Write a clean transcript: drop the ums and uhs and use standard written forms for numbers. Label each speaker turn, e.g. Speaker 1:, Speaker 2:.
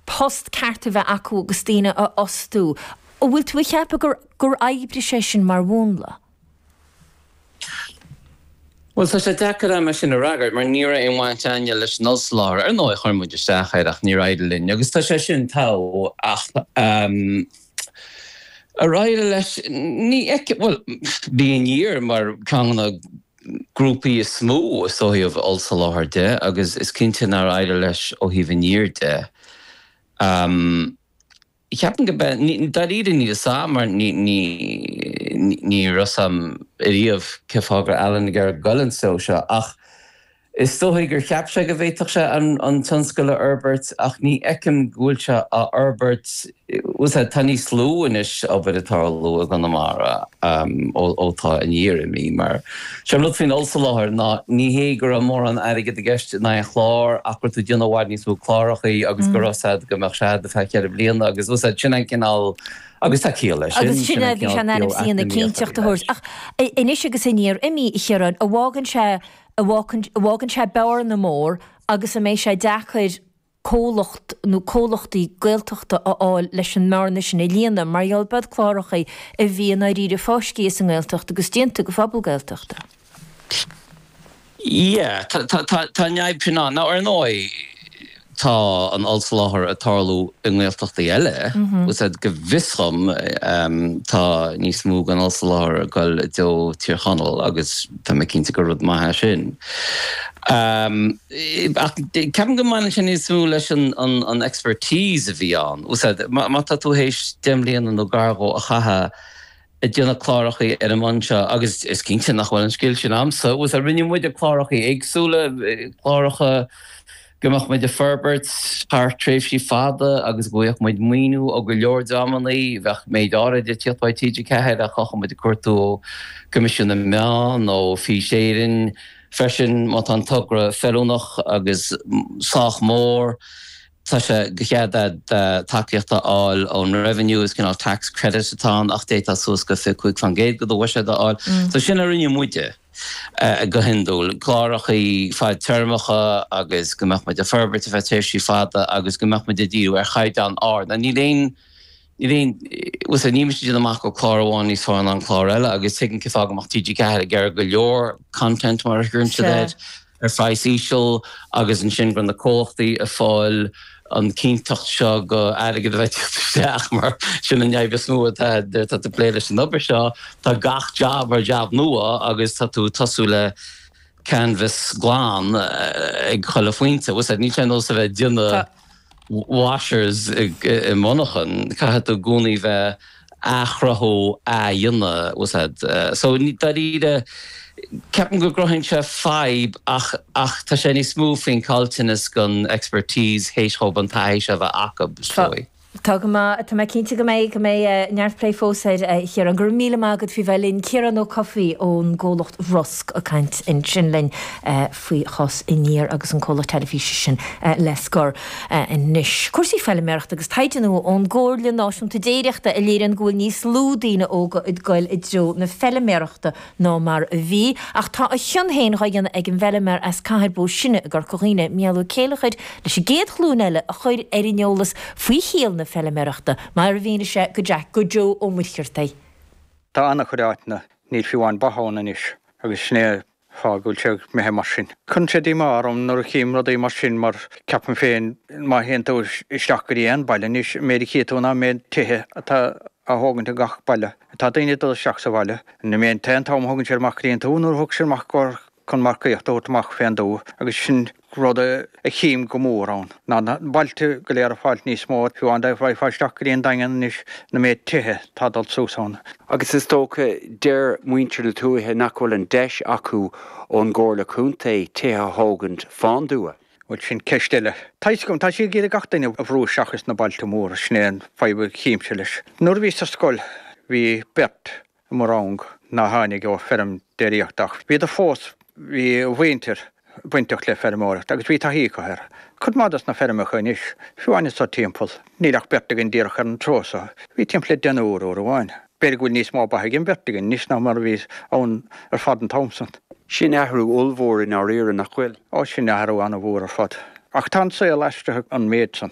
Speaker 1: Post ceart a bheith acu agus daoine a fhostú. An bhfuil tú ag ceapadh gur gur oibrigh sé sin mar mhúnla?
Speaker 2: Bhuel, tá sé deacair agam é sin a fhreagairt mar ní raibh aon bhaint againne leis an ollsoláthar. Ar ndóigh, chuir muid isteach air ach níor éirigh linn agus tá sé sin togha ach ar éirigh leis, ní fheicim, bhuel, bhí Aniar mar ceann de na grúpaí is mó is ó thaobh ollsoláthar de agus is cinnte nár éirigh leis ó thaobh Aniar de. Ceapaim go be, dáiríre níl fhios a'm mar ní, ní, ní raibh fhios a'm ariamh cé fáth go raibh Alan ag iarraidh goil an treo seo ach is dóigh gur cheap sé go bhféadfadh sé an, an tionscal a fhorbairt ach ní fheicim go bhfuil sé á fhorbairt, bhfuil fhios a'd, tá níos lú anois obair ag tarlú i gConamara ó, ó tá Aniar imithe mar Sé an rud faoin ollsoláthar ná ní hé go raibh mórán airgid i gceist in aon chlár ach go raibh tú ag déanamh i bhfad níos mó clárachaí agus go raibh fhios a'd go mbeadh sé a'd ar feadh cheithre bliana agus bhfuil fhios a'd sin an cineál agus tá ciall leis sin,
Speaker 1: Agus sin
Speaker 2: sin
Speaker 1: é
Speaker 2: an
Speaker 1: a bhí sé
Speaker 2: cineál
Speaker 1: in ainm is a dhéanamh, cinnteacht a thabhairt. Ach anois agus Aniar imithe, a Chiaráin, an bhfágann sé, an bhfágann sé bearna mór agus an mbeidh sé deacair comhlacht nó comhlachtaí Gaeltachta a fháil leis an mbearna sin a líonadh, mar gheall b'iad clárachaí a bhí i ndáiríre fáiscthe as an nGaeltacht agus déanta go phobal Gaeltachta.
Speaker 2: Yeah, tá, tá, tá, tá an fhadhb sin ann. Now, ar ndóigh, tá an ollsoláthar ag tarlú i nGaeltachtaí eile, bhfuil fhios a'd, go bhfios dhom, tá níos mó den ollsoláthar ag goil i dtreo Tír Chonaill agus tá mé cinnte gur rud maith é sin. Ach ceapaim go mbaineann sé níos mó leis an expertise a bhí ann. Bhfuil fhios a'd, má tá tú théis 10 mbliana nó gar dhó a chaitheamh ag déanamh clárachaí ar an mbonn seo, agus is cinnte nach bhfuil an scil sin a'msa, bhfuil fhios a'd, rinne muide clárachaí éagsúla, cláracha go mbeadh muid ag forbairt thar tréimhsí fada agus go bhfaigheadh muid maoiniú ó go leor dreamannaí, bheadh méid áirid ag tíocht uaidh TG4 ach bheadh muid ag cuartú ó Coimisiún na Meán, ó Fís Éireann, Freisin, má tá an togra feiliúnach agus sách mór, tá sé de chead agat tacaíocht a fháil ón Revenue, is cineál tax credit atá ann ach d'fhéadfá suas go 25% de do bhuiséad a fháil. So sin a rinne muide go hiondúil, clárachaí fadtéarmacha agus go mbeadh muid ag forbairt ar feadh tréimhsí fada agus go mbeadh muid ag díriú ar chaighdeán ard. Now níl aon Níl aon, bhfuil fhios a'd, níl mise ag déanamh amach go bhfuil clár amháin níos fearr ná an clár eile agus tuigim cén fáth go mbeadh TG4 ag iarraidh go leor content mar a chuireann siad air, ar phraghas íseal agus ansin go raibh na comhlachtaí ag fáil an cinnteacht seo go airgead a bheith ag teacht isteach mar sin an fhadhb is mó atá nuair atá tú ag plé leis an obair seo, tá gach jab mar jab nua agus tá tú ag tosú le canvas glan ag chuile phointe, bhfuil fhios a'd, níl sé ar nós a bheith ag déanamh. washers i monarchan, caithfidh tú i gcónaí bheith athchruthú, athdhéanamh, bhfuil fhios a'd. So, dáiríre, ceapaim go gcruthaíonn sé fadhb ach, ach tá sé níos mó faoin caillteanas den expertise théis dhóibh an taithí seo a bheith acu, is dóigh.
Speaker 1: Tá go maith. Tá mé cinnte go mbeidh, go mbeidh neart plé fós air, a Chiaráin. Go raibh míle maith agat faoi bheith linn. Ciarán Ó Cofaigh ón gcomhlacht Rosg ag caint ansin linn. faoi chás Aniar agus an comhlacht teilifíse sin le scor anois. Cúrsaí feiliméarachta agus taighde nua ón gComhairle Náisiúnta Déiríochta a léiríonn go bhfuil níos lú daoine óga ag goil i dtreo na feiliméarachta ná mar a bhí. Ach tá a chion féin dhá dhéanamh ag an bhfeiliméar as Cathair Bó Sine i gCorca Dhuibhne, Mícheál Ó Céileachair, leis an gcéad ghlúin eile a chur ar an eolas faoi shaol na feiliméarachta, mar a mhínigh sé go Jack go Joe Ó Muircheartaigh.
Speaker 3: Tá an-chuid áiteanna, níl fiú amháin ba ann anois agus sin é fáth go bhfuil sé imithe mar sin. Cuireann sé díomá orm nuair a chím rudaí mar sin mar ceapaim féin má théann tú isteach go dtí aon baile anois, an méid a chí tú ná an méid tithe atá á thógaint i gach baile. Tá daoine ag dul isteach sa bhaile. An méid an t-am a thugann siad amach go dtí an tuath nuair a thug siad amach chun marcaíocht a thabhairt amach fén dtuath agus sin rud a chím go mór ann ná na bailte go léir ag fáilt níos mó, fiú amháin dá bhfaighfeá isteach go dtí an Daingean anois na méid tithe atá ag dul suas ann.
Speaker 4: Agus is dócha, deir muintir na tuaithe nach bhfuil an deis acu ón gComhairle Contae tithe a thógaint fán dtuath.
Speaker 3: Bhuel, sin ceist eile. Tá fhios agam, tá siad ag iarraidh gach duine a bhrú isteach ins na bailte móra, sin é an fadhb a chímse leis. Nuair a bhíos ar scoil bhí beirt i mo rang ná tháinig ó feirm déiríochta ach bhíodar fós, bhí a mhuintir bainteach le feirmeoireacht agus bhí taithí acu air. Cuid maith dos na feirmeacha anois, fiú amháin anso timpeall, níl ach beirt againn díreach ar an treo so, bhí timpeall le deichniúr uair amháin. B'fhéidir go bhfuil níos mó ba ag an bheirt againn anois ná mar a bhí ann ar fad an t-am san.
Speaker 4: Sin athrú ollmhór i ndáiríre, nach bhfuil?
Speaker 3: Ó, sin athrú an-mhór ar fad. Ach tá an saol aistrithe an méid san.